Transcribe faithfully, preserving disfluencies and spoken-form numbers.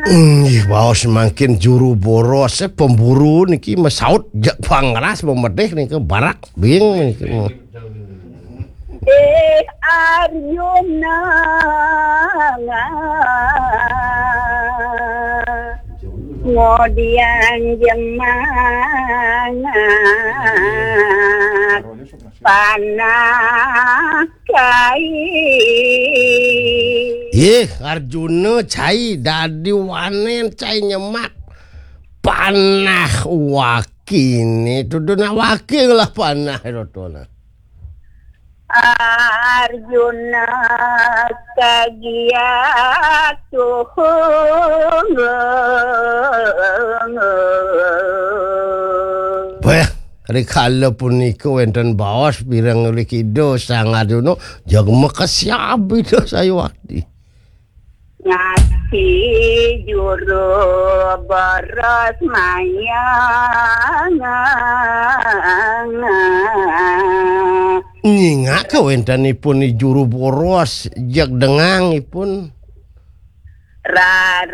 Inggih baos mangkin juru boros, eh, pemburu niki mesaut jak pangras memedih niki barak bing niki. Eh, Arjuna, kemudian jemangat panah kai. Yeh, Arjuna cai dadi wanen, cai nyemak panah wakine, tuduna waki lah panah rotona. Arjuna kagiat tuhung. Bah, rikala punika wenten baos pireng rikida Sang Arjuna, jag makesiab Ida Sayuwakti. Ngasi juru boros mayang. Nyingak kawentenipun i juru boros, jeg dengangipun. Rarap